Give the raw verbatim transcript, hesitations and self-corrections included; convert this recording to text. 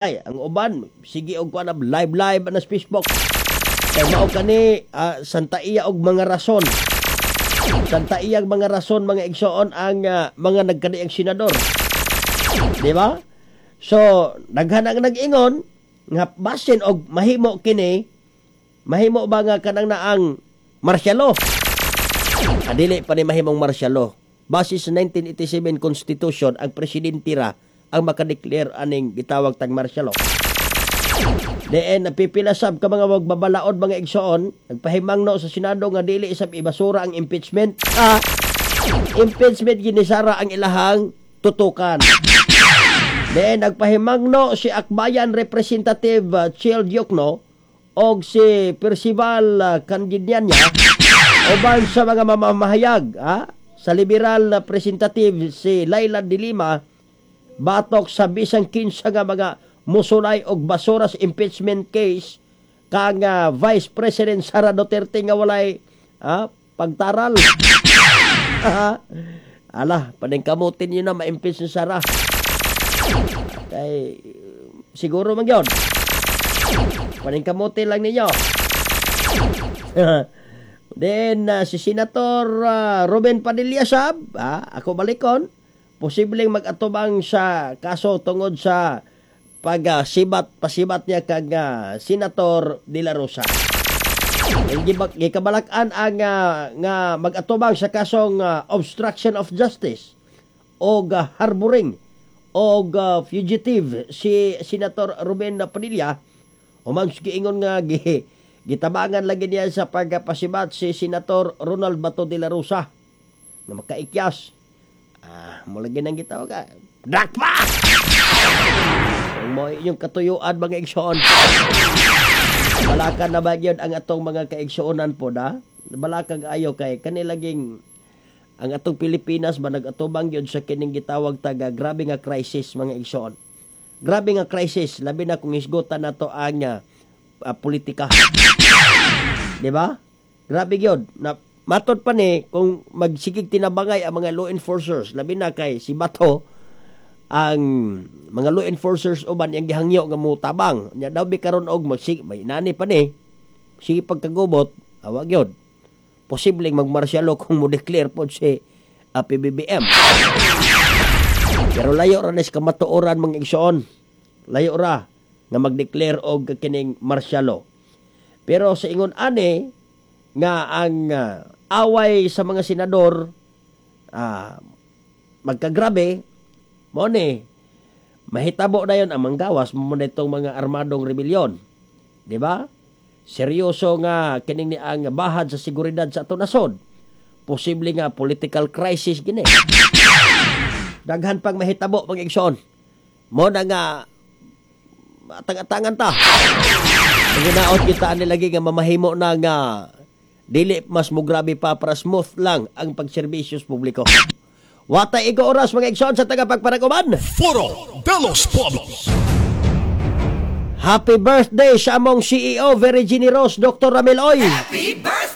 Ay, ang uban sige og kuan live live na sa Facebook. Kay mao kani uh, santa iya og mga rason. Santa iyang mga rason, mga igsoon, ang uh, mga nagkaniang senador. Di ba? So, daghan ang nag-ingon nga basin og mahimo kini, mahimo ba nga kanang naang martial law. Adili pa ni mahimong martial law. Base sa nineteen eighty-seven Constitution, ang presidente ra ang makadeclare aning gitawag tag martial law. Deen napipila sab ka mga magbabalaod, mga igsoon, nagpahimangno sa Senado nga dili sab ibasura ang impeachment. Ah, impeachment gini Sara ang ilahang tutukan. Deen nagpahimangno si Akbayan Representative uh, Chel Diokno og si Percival uh, Cardeña uban sa mga mamamahayag, ah, sa liberal representative si Leila de Lima batok sa bisan kinsa nga mga musulay og basura sa impeachment case kang uh, Vice President Sara Duterte nga walay ah, pagtaral. Ala, paningkamutin niyo na ma-impeach ni Sara. Kay siguro man gyud. Paningkamutin lang ninyo. Then uh, si Senator uh, Robin Padilla sab, ah, ako balikon, posibleng mag-atubang sa kaso tungod sa pagsibat pasibat niya kag uh, Senator De La Rosa. Gikabalak-an ang uh, nga mag-atubang sa kasong uh, obstruction of justice o uh, harboring og uh, fugitive si Senator Robin Padilla human giingon nga gi, gitabangan lagi niya sa pagpasibat si Senator Ronald Bato de la Rosa na makaikyas. Ah, mo lagi nang gitawag ka. Dakpa! Kung mo inyong katuyuan, mga igsoon. Balakan na ba yun ang atong mga kaigsuonan po na? Balakag ayo kay kanilaging ang atong Pilipinas ba nagatubang yun sa kining gitawag taga grabe nga crisis, mga igsoon. Grabe nga crisis, labi na kung hisgutan nato ang uh, politika. Di ba? Grabe yun. Na, matod pa ni kung magsigig tinabangay ang mga law enforcers, labi na kay si Bato, ang mga law enforcers uban yang gihangyo nga mo tabang nya daw bi karon og magsig may nani pa ni sige pagkagubot awag yun posibleng magmartial law kung mo declare pod si uh, P B B M. Pero layo ra ni sa kamatuoran, mga igsoon, layo ra nga mag-declare og kining martial law. Pero sa ingon ani nga ang uh, away sa mga senador uh, magkagrabe mo ni mahitabo na yon ang manggawas mo na itong mga armadong rebelyon. Di ba? Seryoso nga kining ni ang bahad sa seguridad sa ato nasod. Posible nga political crisis gini. Daghan pang mahitabo, mga igsoon. Mo na nga atang-atangan ta. Ginaot kita ani lagi nga mamahimo na nga dili mas mugrabe pa para smooth lang ang pagserbisyo sa publiko. Watay igo oras, mga igsoon sa tagapagpanaguman. Foro de los Pueblos. Happy birthday sa among C E O, very generous, Doctor Ramil Oy. Happy birthday!